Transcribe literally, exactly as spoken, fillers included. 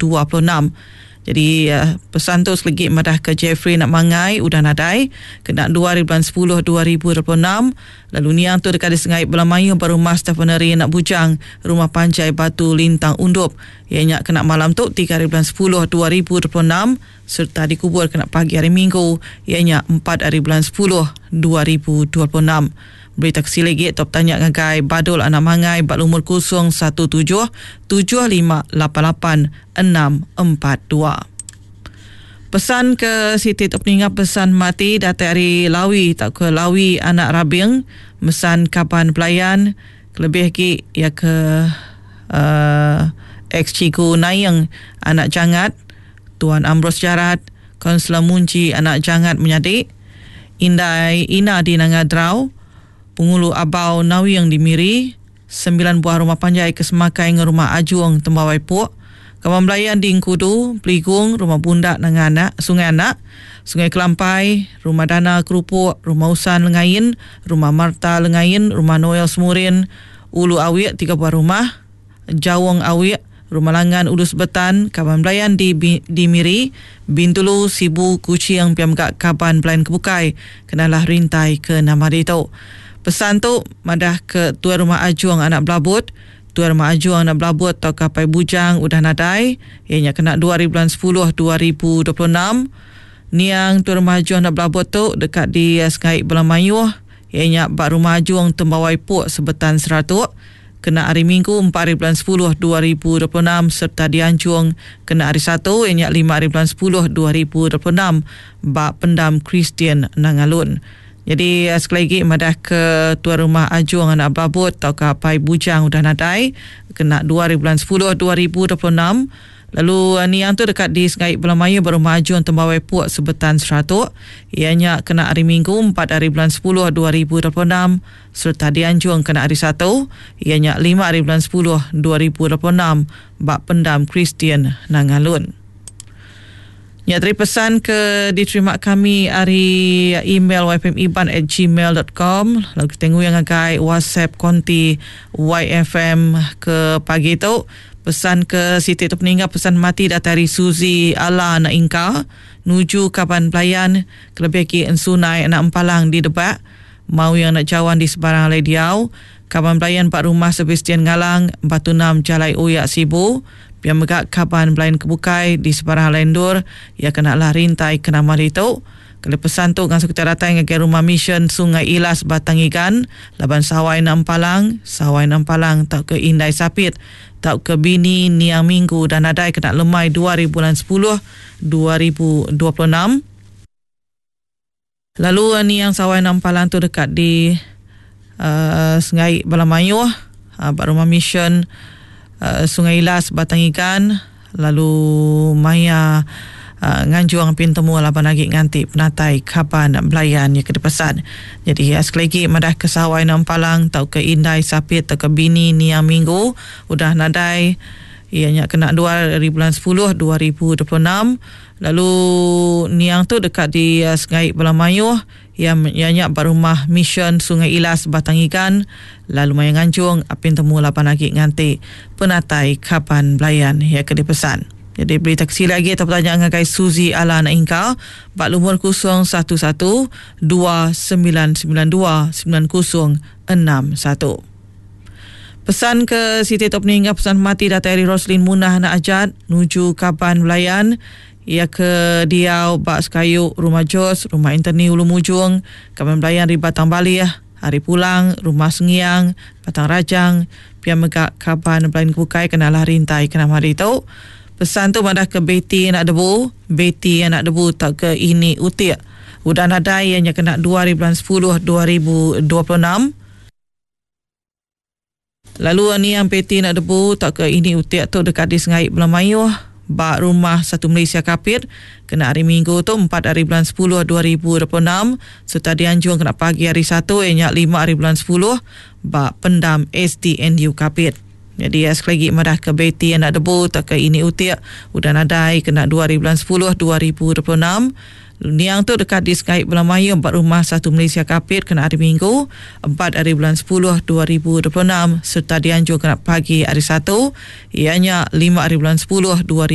dua puluh enam. Jadi pesan tu selegi madah ke Jeffrey nak mangai udah nadai kena dua hari bulan sepuluh dua ribu dua puluh enam. Lalu niang tu dekat di Sengai Belamayu berumah Stephenary nak bujang rumah panjai Batu Lintang Undup. Ianya kena malam tu tiga hari bulan sepuluh dua ribu dua puluh enam serta dikubur kena pagi hari Minggu ianya empat hari bulan sepuluh dua ribu dua puluh enam. Berita kesi lagi top tanya ngagai Badul anak mangai bak lumur kosong satu tujuh tujuh lima lapan lapan enam empat dua. Pesan ke Siti Tok Peninga pesan mati datai hari Lawi tak ke Lawi anak Rabing mesan kaban pelayan kelebih ki ya ke uh, ex Cigu Nayeng anak Jangat Tuan Ambrose Jarat Konselor Munji anak Jangat menyadik Indai Ina di Nangadrau Pengulu Abau Nawi yang dimiri sembilan buah rumah panjai kesemakai dengan rumah Ajuang Tembawai Puk Kawan Belayan di Engkudu, Peligung, Rumah Bundak Nanganak, Sungai Anak, Sungai Kelampai, Rumah Dana Kerupuk, Rumah Usan Lengain, Rumah Marta Lengain, Rumah Noel Semurin, Ulu Awik tiga buah rumah, Jawong Awik, Rumah Langan Ulu Sebetan, Kaban Belayan di di Miri, Bintulu, Sibu, Kuching, Piamgak Kaban Belayan Kebukai, kenalah rintai ke nama itu. Pesan tu madah ke tuan rumah Ajuang anak Belabut, tuan rumah Ajuang anak Belabut atau kapai bujang udah nadai, ianya kena dua hari bulan sepuluh dua ribu dua puluh enam. Niang tuan rumah Ajuang anak Belabut tu dekat di Sengai Belamayuh, ianya bak rumah Ajuang Tembawai Puk Sebetan Seratuk. Kena hari Minggu empat hari bulan sepuluh dua ribu dua puluh enam serta dianjung kena hari Satu ianya lima hari bulan sepuluh dua ribu dua puluh enam bak pendam Kristian Nangalun. Jadi sekali lagi madah ke tuan rumah Ajuang anak Babut atau kapai bujang udah nadai kena dua hari bulan sepuluh dua ribu dua puluh enam. Lalu niang tu dekat di Sengai Belamayu berumah Ajuang Tembawai Puk Sebetan Seratuk. Ianya kena hari Minggu empat hari bulan sepuluh dua ribu dua puluh enam serta dianjung kena hari Satu. Ianya lima hari bulan sepuluh dua ribu dua puluh enam bak pendam Kristian Nangalun. Ya, teri pesan ke diterima kami hari email y f m iban at gmail dot com. Lalu kita tengok yang agai WhatsApp konti Y F M ke pagi tu. Pesan ke Siti tu peninggal pesan mati datari Suzy Ala anak Ingka nuju kaban pelayan kelebih ki ensunai anak empalang di Debak mau yang nak jawan di sebarang alai diau kaban pelayan pak rumah Sebastian Ngalang Batu Enam Jalai Oyak Sibu biar megak kaban pelayan kebukai di sebarang alai endur ya kena lah rintai kena mari tu. Kalau pesan tu langsung kita datang ke rumah mission Sungai Ilas Batang Igan laban Sawai Nampalang Sawai Nampalang tak ke Indai Sapit tak ke Bini Niang Minggu dan nadai kena lemai dua ribu bulan sepuluh dua ribu dua puluh enam. Lalu Niang Sawai Nampalang tu dekat di uh, Sungai Balamayuh uh, rumah mission uh, Sungai Ilas Batang Igan lalu maya Uh, nganjuang pintemu laban lagi nganti penatai kaban belayan ya ke depasan. Jadi ya, sekali lagi madah ke Sawai Nampalang tau ke Indai Sapit tau ke Bini Niang Minggu udah nadai ianya kena dua hari bulan sepuluh dua ribu dua puluh enam. Lalu niang tu dekat di uh, Sungai Belamayuh yang ianya berumah mission Sungai Ilas Batang Igan lalu maya nganjung apin temu laban lagi nganti penatai kaban belayan ya ke depasan. Jadi berita kecil lagi atau pertanyaan dengan Suzy Ala anak Ingka bak lumur kosong satu satu dua sembilan sembilan dua sembilan kosong enam satu. Pesan ke Siti Tok Peninggal pesan mati datai Roslin Munah anak Ajat nuju kaban belayan ia ke diau bak sekayu rumah Jos rumah Interni Ulu Mujung kaban belayan di Batang Baliah hari pulang rumah Sengiang Batang Rajang pia megak kaban belayan kebukai kenalah rintai kena hari itu. Pesan tu madah ke Betty anak debu, Betty anak debu tak ke ini utik. Udah nadai ianya kena dua hari bulan sepuluh dua ribu dua puluh enam. Lalu ni yang Betty anak debu tak ke ini utik tu dekat di Sengai Belamayuh bak rumah Satu Malaysia Kapit kena hari Minggu tu empat hari bulan sepuluh dua ribu dua puluh enam serta dianjung kena pagi hari Satu ianya lima hari bulan sepuluh bak pendam S D N U Kapit. Jadi ya, sekali lagi madah ke Betty anak debu tak ke ini utik udah nadai kena dua hari bulan sepuluh dua ribu dua puluh enam. Niang tu dekat di Sengai Belamayu empat rumah Satu Malaysia Kapit kena hari Minggu empat hari bulan sepuluh dua ribu dua puluh enam serta dianjur kena pagi hari Satu ianya lima hari bulan sepuluh dua ribu